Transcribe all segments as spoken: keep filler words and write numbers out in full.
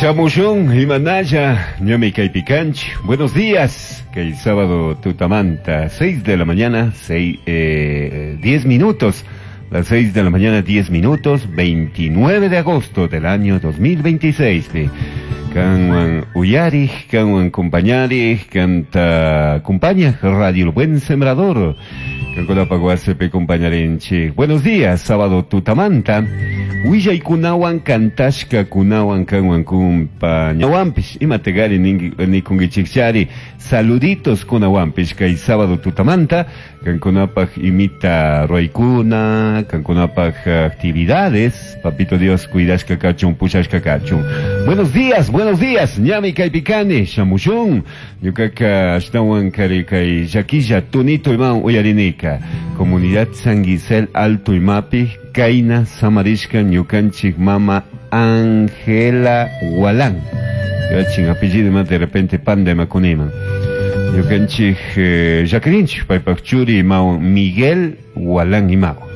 Shamushun, Imanaya, Ñami Kaypikanch. Buenos días, que el sábado tutamanta, seis de la mañana, seis, eh, diez minutos. Las seis de la mañana, diez minutos, veintinueve de agosto del año dos mil veintiséis. Kanwan uyarij, kanwan compañarij, canta acompaña Radio El Buen Sembrador. Kankunapaguasepe compañarenche. Buenos días, sábado tutamanta. Willay kunawan kantashka kunawan kanwan kumpañawanpish. Imategari nikungichikchari. Saluditos kunawanpish kay sábado tutamanta. Kankunapaj imita ruaykuna, kankunapaj actividades. Papito Dios cuidashka kachun, pushashka kachun. Buenos días, buenos días. Ñami kaypikani, shamushun. Ñukaka ashtawan kari kay llakilla tunito iman uyarinika. Comunidad San Gisel Alto Imapi, Kaina Samarishka ñukanchik mama Ángela Walán. Yachin apellido más de repente panda makuniman. Ñukanchik eh, Jacqueline paypak churi imao Miguel Walán imao.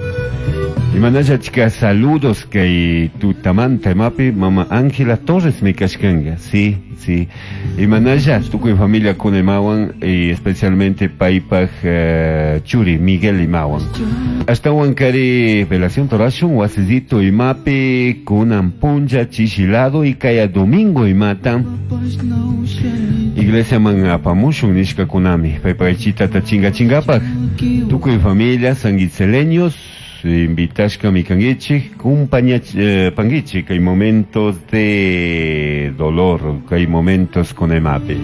Imanaya chica saludos kay tutamanta imapi mama Ángela Torres me kashkanga. Sí, sí. Imanaya tukuy familia con imawan y especialmente paypak eh, churi Miguel imawan. Hasta kari velación torashun wasizito imapi kunan punja chishilado y kaya domingo imata. Iglesia man apamushun nishka kunami. Paypak chita ta chinga chingapak. Tukuy familia sanguitzeleños invitashka mikangichik, compañía eh, pangichik, hay momentos de dolor, hay momentos con emape.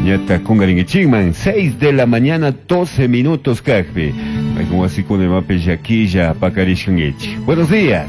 Ñata kungaringichikman, seis de la mañana, doce minutos kajpi. Hay como así con emape yaquilla pakarishkangichik. Buenos días.